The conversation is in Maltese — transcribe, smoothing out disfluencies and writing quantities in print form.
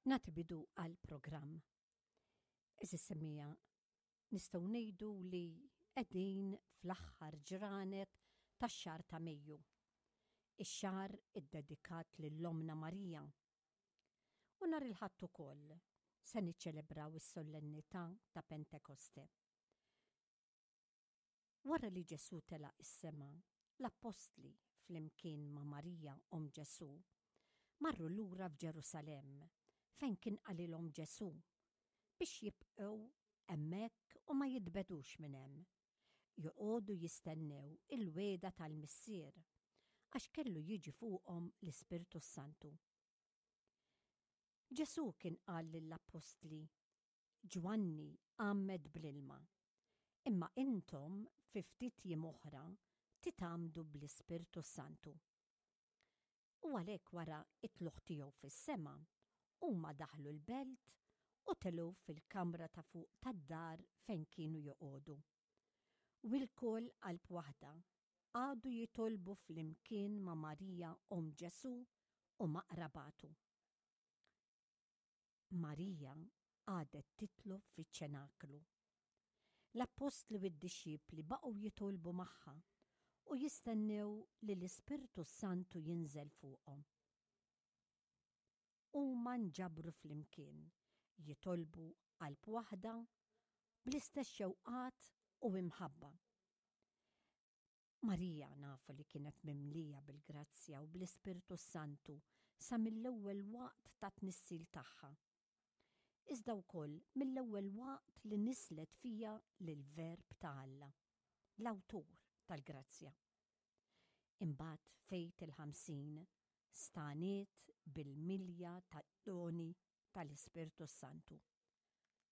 Nagħti bidu għall-programm. Eżis semmija, nistgħu ngħidu li qegħdin fl-aħħar ġranet tax-xahar ta' Mejju. Ix-xahar iddedikat lil Ommna Marija. U nhar il-Ħadd ukoll se niċċelebraw is-sollennità ta' Pentekoste. Wara li Ġesù telaq is-sema, l-appostli, flimkien ma' Marija omm Ġesù, marru lura f'Ġerusalemm, fejn kien qalilhom Ġesù, biex jibqgħu hemmhekk u ma jitbegħdux minn hemm, joqogħdu jistennew il-wegħda tal-Missier, għax kellu jiġi fuqhom l-Ispirtu s-Santu. Ġesù kien qal lill-appostli, Ġwanni għammed bl-ilma, imma intom fi ftit jiem oħra titgħammdu bl-Ispirtu s-Santu. U għalhekk wara t-tlugħ tiegħu fis-sema, huma daħlu l-belt u telgħu fil-kamra ta' fuq tad-dar fejn kienu joqogħdu. U lkoll qalb waħda qagħdu jitolbu flimkien ma' Marija omm Ġesù u ma' qrabatu. Marija qagħdet titlob fiċ-ċenaklu. L-appostli u d-dixxipli baqgħu jitolbu magħha u jistennew li l-Ispirtu s-Santu jinżel fuqhom. Huma nġabru flimkien jitolbu qalb waħda bl-istess xewqat u imħabba. Marija nafu li kienet mimlija bil-grazzja u bl-Ispirtu s-Santu sa mill-ewwel waqt tat-tnissil tagħha. Iżda wkoll mill-ewwel waqt li nisslet fiha lill-Verb ta' Alla, l-awtur tal-grazzja. Imbagħad f'Għid il-Ħamsin stagħniet bil-milja tad-doni tal-Ispirtu s-Santu.